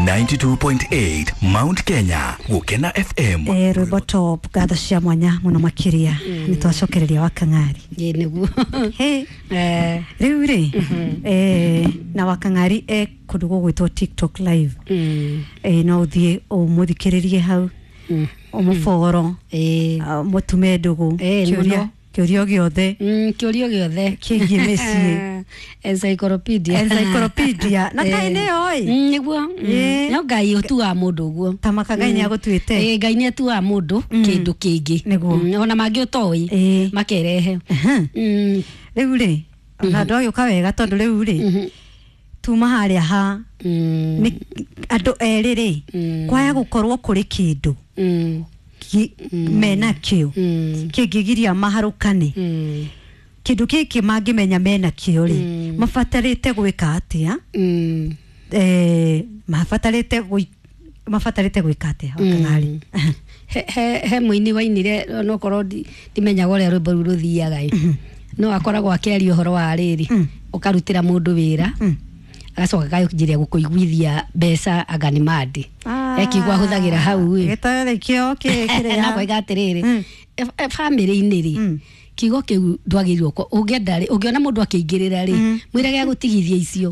92.8 Mount Kenya Gukena FM. Rwĩmbo top, ngatho cia mwanya mũno makĩria. Nĩ twacokereria Wakang'ari. Ĩ nĩguo. Hey, rĩu rĩ, na Wakang'ari e kũndũ gũgwĩtwo TikTok Live. No ũthiĩ ũmũthikĩrĩrie hau, ũmũboro, mũtume ndũgũ, kĩũria mũno. Kĩũria o gĩothe Kĩũria o gĩothe kĩgiĩ mĩciĩ. Encyclopedia. Encyclopedia na kaĩ nĩyo ĩ. Nĩguo. No Ngai ũtuaga mũndũ ũguo. Ta maka Ngai nĩ agũtuĩte. Ĩ, Ngai nĩ atuaga mũndũ kĩndũ kĩngĩ. Nĩguo. Ona mangĩ ũtoĩ makerehe. Rĩu rĩ, ona ndwagĩũka wega tondũ rĩu rĩ, tuma harĩa ha nĩ andũ erĩ rĩ, kwaya gũkorwo kũrĩ kĩndũ mena kĩo kĩngĩgiria maharũkane. Kĩndũ gĩkĩ mangĩmenya mena kĩo rĩ, mabatarĩte gwĩka atĩa? Mabatarĩte gwĩka atĩa, Wakang'ari? He mũini wainire, onokorwo ndimenyaga ũrĩa rwĩmbo rũu rũthiaga ĩ, no akoragwo akĩaria ũhoro wa rĩrĩ, ũkarutĩra mũndũ wĩra, agacoka akanjĩria gũkũiguithia mbeca anga nĩ mandi ekiugo ahũthagĩra hau ĩ. Gĩtoero kĩo kĩrĩa Na koiga atĩrĩrĩ, bamĩrĩ-inĩ rĩ, kiugo kĩu ndwagĩrĩirwo ũngĩenda rĩ, ũngĩona mũndũ akĩingĩrĩra rĩ, mwĩrage agũtigithia icio.